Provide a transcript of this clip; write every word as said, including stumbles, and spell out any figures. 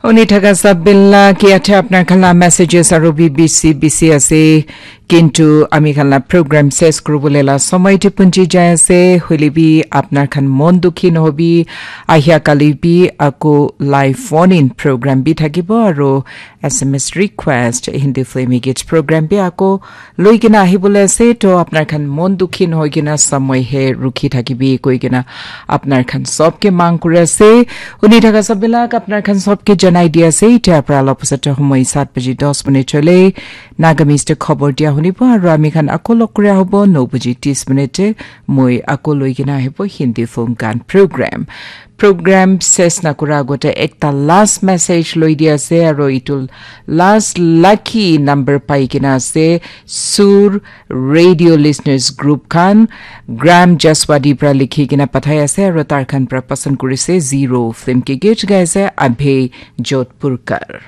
Uni thaka sabila ki athe apnar khan la messages aru bi bisi bisi ase. Kintu ami khan la program ses kuribole la samay te punji jai ase. Hoile bi apnar khan mon dukhi nohobi. Ahia kali bi ako live phone in program bi thakibo aru S M S request Hindi film git program bi ako loi kena ahibole ase. To apnar khan mon dukhi nohoi kena samay he rukhi thakibi koi kena apnar khan sob ke mang kuri ase. Uni thaka sabila apnar khan sob ke janai di ase. Itya pra la pusate homoy sat baji dos minute chole. Naga Mister khobor dia hunibo aru ami khan ako log kura hobo no baji tis minute. Moi ako loi kena ahibo Hindi film gan program. Program ses na kura agote ekta last message loi di ase aru itu last lucky number pai kena ase Sur Radio Listeners Group khan Gram Jaswadi pra likhi kena pathai ase aru tar khan pra pasan kurise Zero film ke git gai ase Abhay Jodhpurkar.